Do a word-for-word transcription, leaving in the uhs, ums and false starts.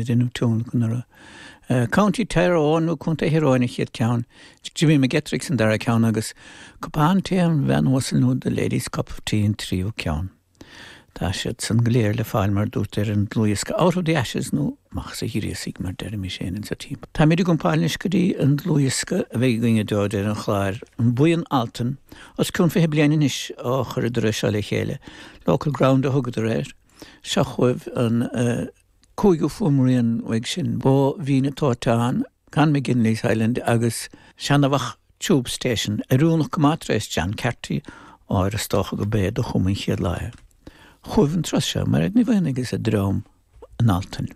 Déanamh tionlacan anuraidh. County Tyrone nó Contae Thír Eoghain an chéad ceann, Jimmy McGettrick san dara ceann agus Cupán Tae an Bhean Uasal nó The Ladies Cup of Tea an tríú ceann. Tá siad san go léir le fáil mar dúirt ar an dlúthdhiosca Out of the Ashes nó amach as an ghríosaigh mar deirimis féin insa timpeall. Táimid ag iompáil anois go dtí an dlúthdhiosca a bheidh againn deo ar an chlár an Buíon Altan os cionn fiche bliain anois ó chuireadar é seo le chéile. Local Ground a thugadar air. Seo chugaibh an uh, cúigiú fuaimrian uaidh sin Bó Mhín an Tóiteáin, Con McGinley's Island agus Seanabhach Tube Station oiriúnach go maith tar éis John Carty áir is dócha go bé do chum an chéad lá. Chugaibh an turas seo mar ní bhain agus a dream an Altan.